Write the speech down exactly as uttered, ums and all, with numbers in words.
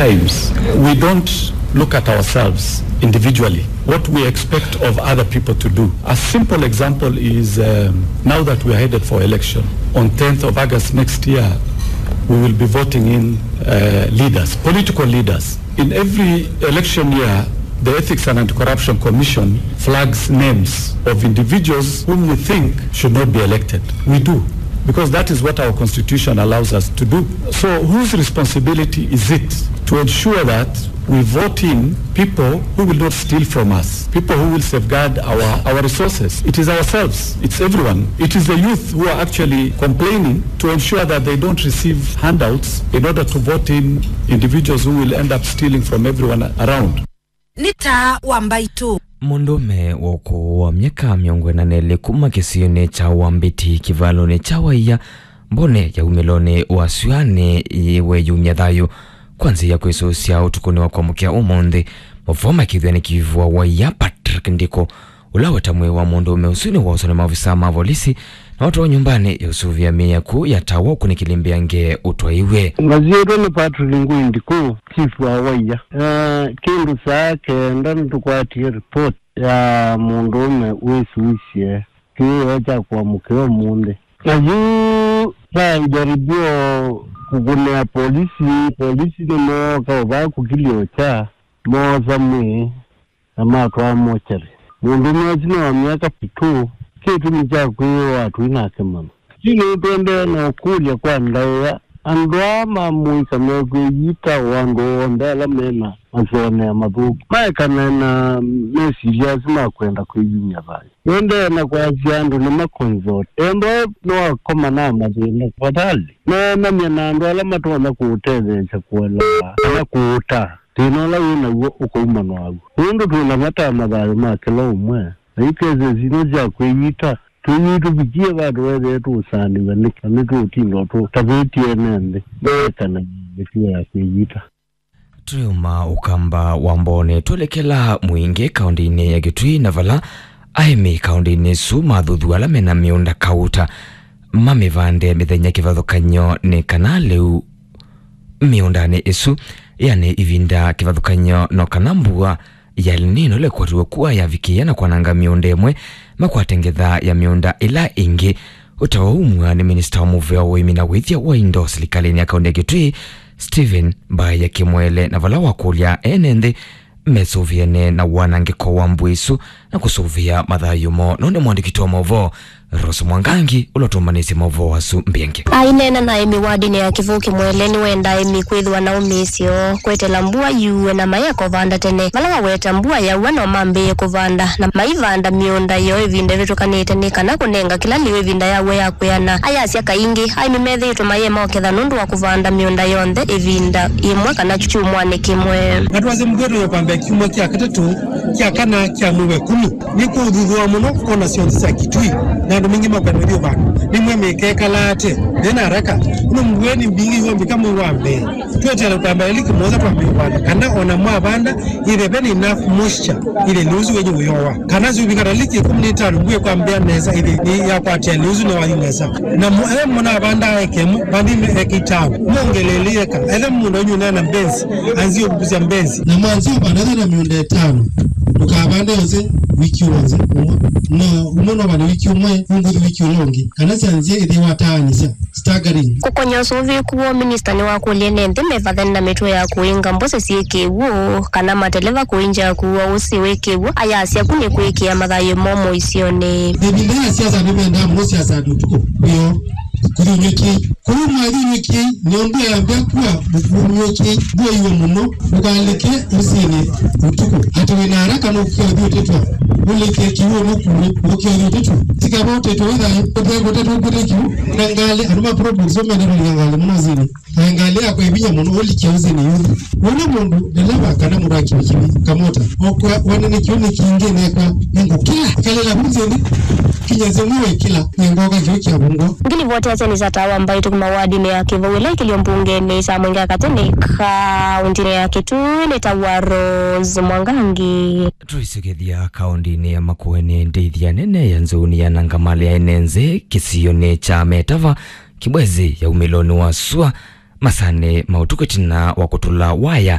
Times, we don't look at ourselves individually, what we expect of other people to do. A simple example is, um, now that we are headed for election, on tenth of August next year, we will be voting in, uh, leaders, political leaders. In every election year, the Ethics and Anti-Corruption Commission flags names of individuals whom we think should not be elected. We do, because that is what our constitution allows us to do. So whose responsibility is it to ensure that we vote in people who will not steal from us, people who will safeguard our, our resources? It is ourselves, it's everyone. It is the youth who are actually complaining to ensure that they don't receive handouts in order to vote in individuals who will end up stealing from everyone around. Nĩ taa wa mbaitũ. Mũndũũme wa ũkũũ wa myaka mĩongo ĩna na ĩlĩ kuma kĩsionĩ kya Wambĩti kĩvalonĩ kya Waia, mbonĩ ya umĩlonĩ wa syũanĩ, weyumya thayũ kwa nzĩa ya kwĩsũsya ũtukũnĩ wa kwamũkĩa ũmũnthĩ. Mũvoo makĩthw'a nĩ kĩvua Waia Patrick Ndiko, ũla weta mwĩĩ wa mũndũũme ũsu nĩwooswa nĩ maovisaa ma volisi na watwawa nyũmbanĩ ya ũsũvĩa mĩĩ ya kũu ya Tawa ũkunĩkĩli mbĩa nge ũtwaiwe. Ngasyĩtwa nĩ Patrick Ngui Ndikũ, chief wa Waia. Eh, kĩndũ saa kenda nĩtũkwatie report ya mũndũũme wĩsũisye kĩwĩoo kya kũamũkĩa ũmũnthĩ. Na yu vajaribio kũkũnĩa polisi, polisi nĩmooka ũvaa kũkilya ũkya, moosa mwĩĩ na matwaa mochari. Mũndũũme ũsu nĩ wa myaka fifty-two, kĩtumi kya kwĩyĩwa atũi nake mana. Yu nĩtũendee na ũkũlya kwa ndaĩa, andũ aa ma mũika mekwĩyita o andũ onthe ala me na masonea mathũku, maekane na mesilya asu ma kwenda kwĩyumya thayũ. Nĩendee na kwasya andũ nĩmakonzote. Ethĩwa nĩwakoma na mathĩna, tafadhali neenany'a na andũ ala matonya kũũtetheesya kũelewa kana kũũtaa thĩna ũla wĩ naw'o ũkaumanwa naw'o, nũndũ twĩ na vata na thayũ ma kĩla ũmwe, na yu kesi sitũ sya kwĩyita tũinyie tũvikie vandũ wethĩe tũũsaanĩw'a nĩkĩ, na nĩtũũtinda tũtavĩtye ene nthĩ meekane na mĩtuo ya kwĩyita. Tũyuma ũkamba wa mbonĩ, twelekela Mwingĩ kaũndĩnĩ ya Kitui, na vala aĩmi kaũndĩnĩ ĩsu mathuthuaa ala mena mĩũnda kauta mamĩvande mĩthenya kĩvathũkany'o nĩ kana lĩu mĩũndanĩ ĩsu yanĩ ĩvinda kĩvathũkany'o no kana mbua ya El Nino ĩla ĩkwatiwe kua yavikĩĩa na kwananga mĩũnda ĩmwe, makwate ngetha ya mĩũnda ĩla ĩngĩ. Ũtao umw'a nĩ minista wa mũvea wa ũĩmi na wĩthya wa indo silikalĩnĩ ya kaũndĩ ya Kitui, Stephen Mbaya Kimwele, na vala wakũlya ene nthĩ mesũvĩane na wanangĩko wa mbua ĩsu na kũsũvĩa mathayũ moo. No nĩ mwandĩki witũ wa maũvoo Rose Mwangangi ũla ũtũmbanĩsye maũvoo asu mbingĩ. Aineena na aĩmi wadinĩ ya Kĩvũũ, Kimwele nĩwendaa aĩmi kwĩthĩwa na ũmĩĩsyo kwetela mbua yue na mayeka ũvanda tene. Vala waweta mbua yaua no mambĩĩe kũvanda, na maivanda mĩũnda yoo ĩvinda ĩvĩtũkanĩte nĩ kana kũnenga kĩla lĩu ĩvinda yaw'o ya kwĩana. Ayasya kaingĩ aĩmi methĩĩtwe mayĩema ũketha nũndũ wa kũvanda mĩũnda yonthe ĩvinda yĩmwe kana kyumwanĩ kĩmwe. Na twasya mũvĩa tũyũkambĩa kyumwa kya katatũ, kya kana kya mwei wa ĩkũmi. Nĩkũũthuthũa mũno kona syonthe sya Kitui, na andũ maingĩ makwenda kũthi ũvanda. Nĩmwe mĩkekala ate, ndĩ na haraka. Ĩno mbua nĩ mbingĩ ĩũmbĩka mwei wa mbee. Tweteele kwamba ĩlĩ kĩmosa twambĩe ũvanda, kana ona mwavanda, ĩthe ve nĩ enough moisture, ĩthe lĩu ũsu wenye ũyowa. Kana syũvika ta liki ĩkũmi na itano, mbua ĩkwambĩa nesa, ĩthe nĩ yakwatĩa lĩu ũsu nĩ wathi nesa. Na mũ-, ethĩwa mũnavanda eka ĩmwe, vandĩnĩ eka itano, mwongeleele eka. Ethĩwa mũũnda wenyu ũneena mbenzi, anzie ũvukusya mbenzi. Na mwanzie ũvanda ĩthe na mĩũnda ĩtano, ndũkavande yose wiki wonze ũmwe. No, ũmwe no vande wiki ũmwe, ũngũthi wiki ũla ũngĩ. Kana syanzie ĩthe wataanisya, staggering. Kũkony'a ũsũvĩĩku woo, minista nĩwakũlya ene nthĩ mevathane na mĩtuo ya kũinga mbũsĩ syĩ kĩw'ũ kana mateleva kũinja kũua ũsĩ wĩ kĩw'ũ, ayasya ku nĩ kwĩkĩa mathayũ moo mũisyonĩ. Ĩvinda ya siasa nĩmendaa mũno siasa andũ ũtukũ wĩoo. Kũthunyũkĩi. Kũu mwathunyũkĩi, nĩ ũndũ yambĩa kua mũkũnyũkĩi, ndũaiwe mũno, ndũkalĩke ũsĩnĩ ũtukũ. Atĩ wĩ na haraka nũkĩa ũthi ũtetwa, ũlĩke kĩw'ũ nũkuwe, ũkĩa ũthi ũtetwa. Tikava ũtetwa wĩ thayũ, ũtekũtetwa ũkwĩte kĩw'ũ, na ngalĩ, andũ ma probox ũmenda kũlika ngalĩ mũno ũsĩnĩ. Na ngalĩ yakwa ĩvinya mũno, ũlikia ũsĩnĩ yuthi. Wona mũndũ ndeleva kana mũndũ wa kivikivi, kamota, okwa, wane nĩ kĩu nĩ kingĩ nekwa, nĩngũkĩla. Kalĩla vu nthĩ, kinya nzĩ mwe wĩkĩla, nĩngoka kĩu kya vungwa. Ngilivoti ya Senisa Tawa Mbaitũ kuma wadinĩ ya Kĩvũũ ĩla ĩkĩlyo mbungenĩ ya Mwingĩ ya Katene, kaũndĩnĩ ya Kitui, nĩ ta wa Rose Mwangangi. Tũisũkĩthya kaũndĩnĩ ya Makueni, ndĩithya nene ya nzũni ya Nangamale ya ene nzĩ kĩsionĩ kya Metava, Kibwezi ya umĩlonĩ wa sua, masanĩ ma ũtukũ ĩtina wa kũtũla waya